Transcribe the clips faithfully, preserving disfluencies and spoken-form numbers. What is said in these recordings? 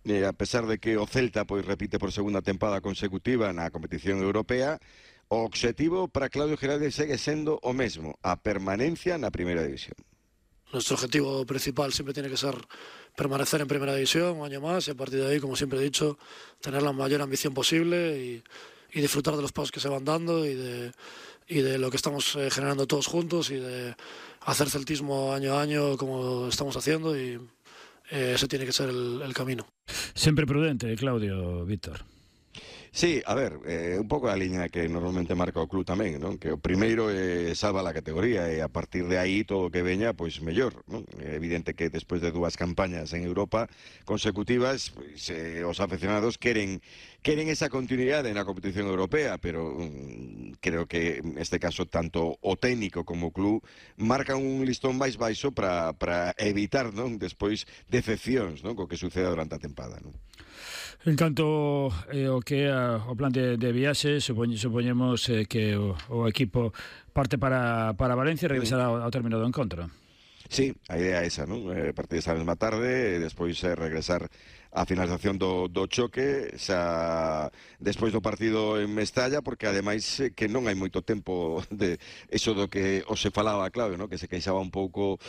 eh, a pesar de que o Celta pois repite por segunda tempada consecutiva na competición europea, o obxectivo para Claudio Giraldez segue sendo o mesmo, a permanencia na primeira división. Nuestro objetivo principal siempre tiene que ser permanecer en primera división un año más y a partir de ahí, como siempre he dicho, tener la mayor ambición posible y, y disfrutar de los pasos que se van dando y de, y de lo que estamos eh, generando todos juntos y de hacer celtismo año a año como estamos haciendo y eh, ese tiene que ser el, el camino. Sempre prudente, Claudio, Víctor. Sí, a ver, eh, un pouco a liña que normalmente marca o club tamén, non? Que o primeiro eh, salva a categoría e a partir de aí todo o que veña, pois mellor, non? É evidente que despois de dúas campañas en Europa consecutivas, pois, eh, os aficionados queren queren esa continuidade na competición europea, pero um, creo que neste caso tanto o técnico como o club marcan un listón máis baixo para para evitar, non? Despois decepcións, non? Co que suceda durante a tempada, non? En canto eh, o que é o plan de, de viaxe, supoñ, supoñemos eh, que o, o equipo parte para, para Valencia e regresará ao, ao término do encontro. Sí, a idea é esa, non? Eh, partir esa mesma tarde e despois eh, regresar a finalización do, do choque xa despois do partido en Mestalla, porque ademais eh, que non hai moito tempo de eso do que os se falaba, Claudio, non? Que se queixaba un pouco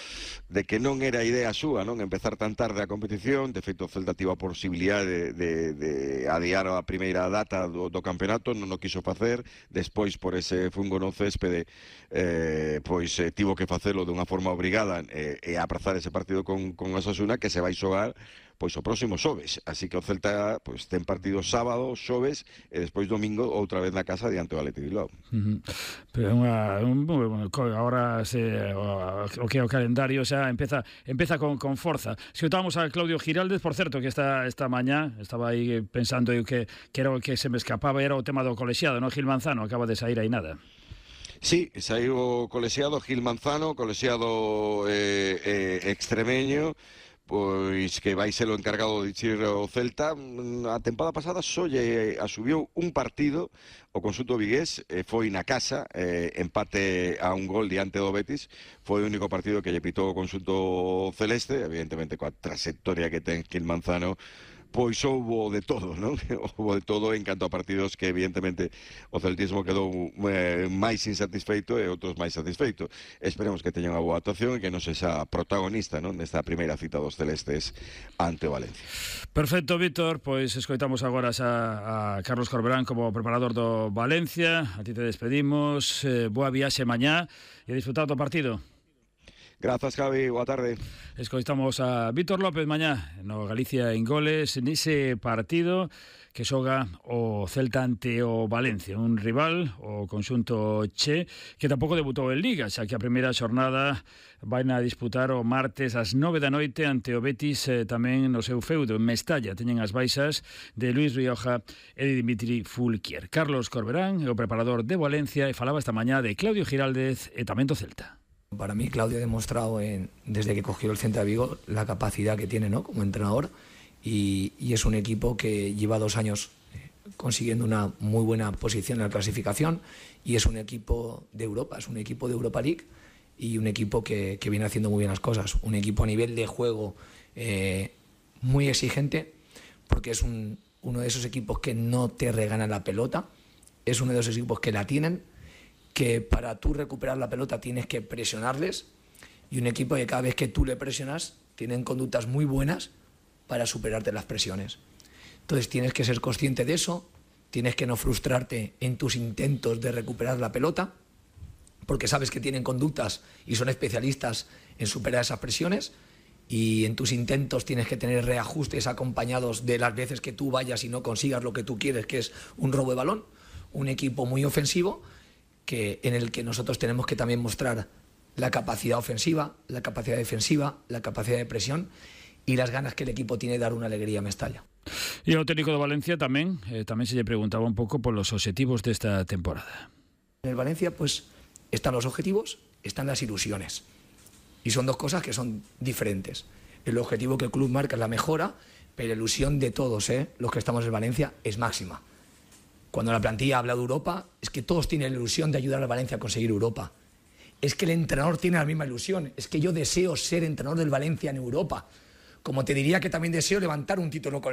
de que non era idea súa, non? Empezar tan tarde a competición. De feito, o Celta tivo a posibilidade de, de, de adiar a primeira data do, do campeonato, non o quiso facer, despois por ese fungo no céspede eh, pois eh, tivo que facelo dunha forma obrigada e, e aprazar ese partido con, con Osasuna, que se vai xogar pois o próximo xoves, así que o Celta pois ten partido sábado, xoves e despois domingo outra vez na casa diante do Athletic Bilbao. Uh -huh. Pero unha, un, bueno, agora se, o, o que é o calendario xa empeza empeza con, con forza. Se escutábamos a Claudio Giraldez, por certo, que esta esta mañá estaba aí pensando eu que, que era o que se me escapaba, era o tema do colexiado, non? Gil Manzano acaba de sair aí nada. Sí, saiu o colexiado Gil Manzano, colexiado eh, eh, extremeño, pois que vai ser o encargado de dirixir o Celta. A tempada pasada só lle asubiu un partido o conxunto vigués, eh, foi na casa, eh, empate a un gol diante do Betis, foi o único partido que lle pitou o conxunto celeste, evidentemente coa trayectoria que ten Gil Manzano, pois houbo de todo, non? Houbo de todo en canto a partidos que evidentemente o celtismo quedou eh, máis insatisfeito e outros máis satisfeito. Esperemos que teñan unha boa actuación e que non sexa protagonista, non? Nesta primeira cita dos celestes ante o Valencia. Perfecto, Víctor, pois escoitamos agora a, a Carlos Corberán como preparador do Valencia. A ti te despedimos, eh, boa viaxe mañá e disfrutar do partido. Grazas, Javi, boa tarde. Escoitamos a Víctor López mañá no Galicia en goles nese partido que xoga o Celta ante o Valencia, un rival, o conxunto Che, que tampouco debutou en Liga, xa que a primeira xornada vai a disputar o martes ás nove da noite ante o Betis, eh, tamén no seu feudo en Mestalla. Teñen as baixas de Luis Rioja e de Dimitri Fulquier. Carlos Corberán é o preparador de Valencia e falaba esta mañá de Claudio Giraldez e tamén do Celta. Para mí, Claudio ha demostrado en, desde que cogió el Celta de Vigo la capacidad que tiene, ¿no?, como entrenador y, y es un equipo que lleva dos años eh, consiguiendo una muy buena posición en la clasificación y es un equipo de Europa, es un equipo de Europa League y un equipo que, que viene haciendo muy bien las cosas, un equipo a nivel de juego eh, muy exigente porque es un, uno de esos equipos que no te regalan la pelota, es uno de esos equipos que la tienen, que para tú recuperar la pelota tienes que presionarles y un equipo que cada vez que tú le presionas tienen conductas muy buenas para superarte las presiones. Entonces tienes que ser consciente de eso, tienes que no frustrarte en tus intentos de recuperar la pelota porque sabes que tienen conductas y son especialistas en superar esas presiones y en tus intentos tienes que tener reajustes acompañados de las veces que tú vayas y no consigas lo que tú quieres, que es un robo de balón. Un equipo muy ofensivo que en el que nosotros tenemos que también mostrar la capacidad ofensiva, la capacidad defensiva, la capacidad de presión y las ganas que el equipo tiene de dar una alegría a Mestalla. E o técnico de Valencia tamén, eh, tamén se lle preguntaba un pouco por los objetivos desta temporada. En el Valencia pues están los objetivos, están las ilusiones y son dos cosas que son diferentes. El objetivo que el club marca es la mejora, pero la ilusión de todos, ¿eh?, los que estamos en Valencia, es máxima. Cuando la plantilla habla de Europa, es que todos tienen la ilusión de ayudar al Valencia a conseguir Europa. Es que el entrenador tiene la misma ilusión. Es que yo deseo ser entrenador del Valencia en Europa. Como te diría que también deseo levantar un título con el Valencia.